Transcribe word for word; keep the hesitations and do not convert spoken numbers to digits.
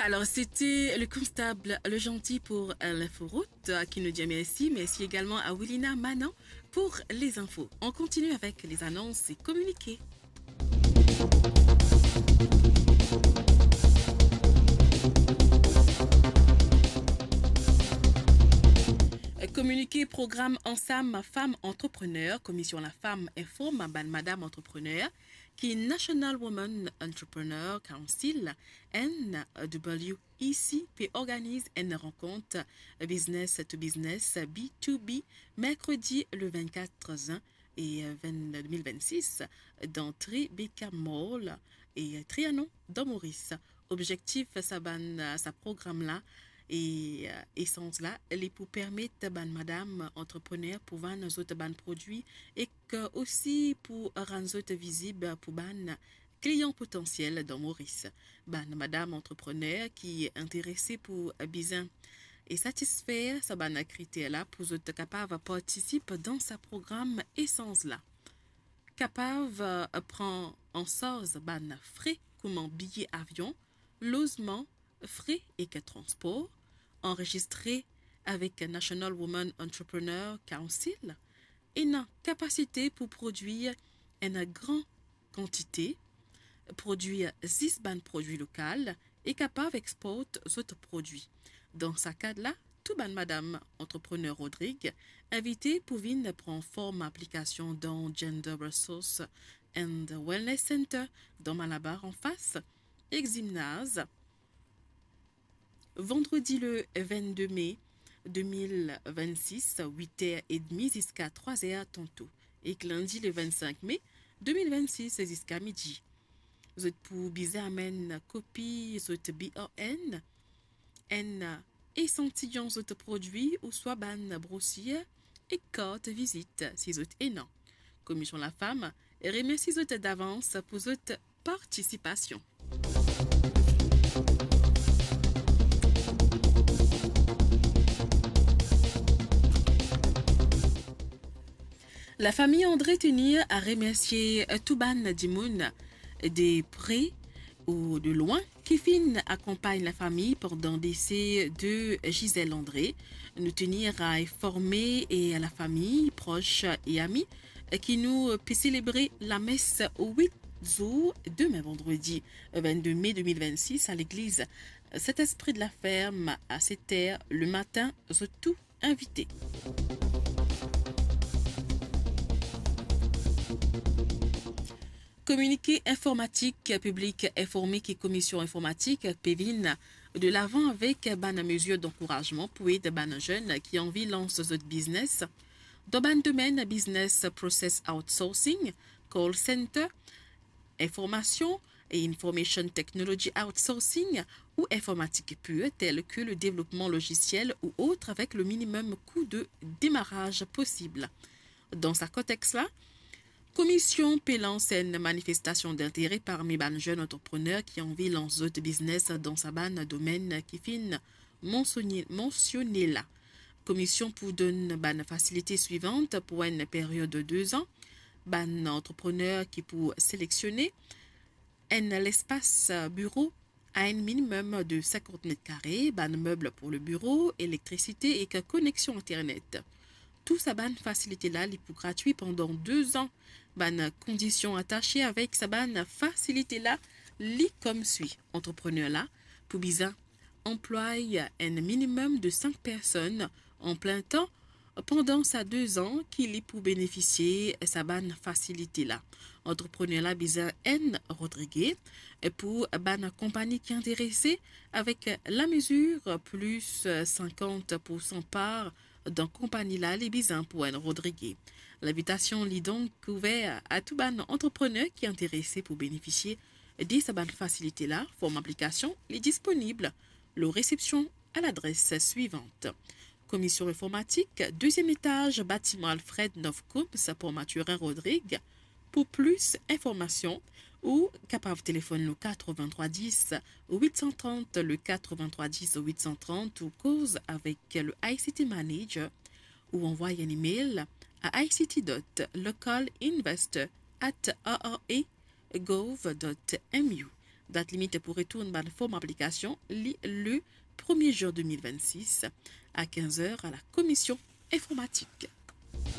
Alors, c'était le constable Le Gentil pour, euh, l'inforoute, euh, qui nous dit merci. Merci également à Willina Manon pour les infos. On continue avec les annonces et communiqués. Communiqué programme Ansam Femme Entrepreneur, Commission la Femme informe bann madam antrepreneur ki National Women Entrepreneur Council, N W E C, pe organiz enn rankont business to business, B to B, merkredi le vingt-quatre juin e, euh, vingt, deux mille vingt-six, dan Tribeca Mall e, euh, Trianon, dan Moris. Objektif sa bann, euh, sa program la e, euh, esanz la, li pou permet bann madam antreprener pou vann zot bann prodwi ek osi pou rann zot vizib pou bann klian potansiel dan Moris. Bann madam antreprener ki interese pou bizin e satisfer sa bann kriter la pou zot kapav partisip dan sa program esanz la. Kapav, euh, pran an sarz bann fre kouma biye avion, lozman, fre ek transpor, anrezistre avek National Women Entrepreneur Council, ena kapasite pou prodwir enn gran kantite, prodwir zis bann prodwi lokal e kapav export zot prodwi. Dan sa kad la, tou bann madam antreprener Rodrig invite pou vinn pran form aplikasion dan Gender Resource and Wellness Center dan Malabar anfas ek zimnaz. Vandredi le vingt-deux mai deux mille vingt-six, huit heures et demie ziska trois heures tanto, ek lindi le vingt-cinq mai deux mille vingt-six ziska midi. Zot pou bizin amenn kopi zot B R N, enn esantiyon zot prodwi ouswa bann brosir ek kart vizit si zot ena. Komision Lafam remersi zot davans pou zot partisipasion. Lafami André tenir a remersie tou bann dimoun de pre ou de lwin ki finn akonpagn lafami pandan dese de Gisèle André. Nou tenir a informe e lafami, pros e ami ki nou pe selebre lames wit zour, demin vandredi vingt-deux mai deux mille vingt-six, a legliz Saint-Esprit de la Ferme a set er lematin, zot tou invite. Kominike informatik, piblik informe ki Komision Informatik pe vinn delavan avek bann mezir dankourazman pou ed bann zenn ki anvi lans zot biznes dan bann domenn business process outsourcing, call center, informasion e information technology outsourcing ou informatik pur, tel ke le devlopman lozisiel ou ot, avek le minimum kou de demaraz posib. Dan sa kontex la, Komision pe lans enn manifestasion dintere parmi bann zenn antreprener ki anvi lans zot biznes dan sa bann domenn ki finn mansione, mansione la. Komision pou donn bann fasilite swivan pou enn period de de zan. Bann antreprener ki pou selektione enn lespas biro a enn minimum de sinkant met kare, bann meb pou le biro, elektrisite ek koneksion internet. Tou sa bann fasilite la, li pou gratwi pandan de zan. Bann kondision atase avek sa bann fasilite la, li koumsa. Antreprener la pou bizin anplway enn minimum de sink personn an plin tan pandan sa de zan ki li pou benefisie sa bann fasilite la. Antreprener la bizin enn Rodrige. Pou bann konpani ki interese, avek lamezir plis sinkant poursan par dan konpani la, li bizin pou enn Rodrige. Linvitasion li donk ouver a tou bann antreprener ki interese pou benefisie de sa bann fasilite la. Form aplikasion li disponib lor resepsion a ladres swivan. Komision Informatik, deziem etaz, batiman Alfred, Novecom, Port Mathurin, Rodrig. Pou plis informasion, ou kapav telefonn le quatre-vingt-trois dix huit cent trente, le quatre-vingt-trois dix huit cent trente, ou koz avek le I C T manager, ou anvway enn email a I C T dot local investor at R R A gov dot M U. Dat limit pou retourn bann form aplikasion li le premie zen de mil vennsis a kinz er a la Komision Informatik.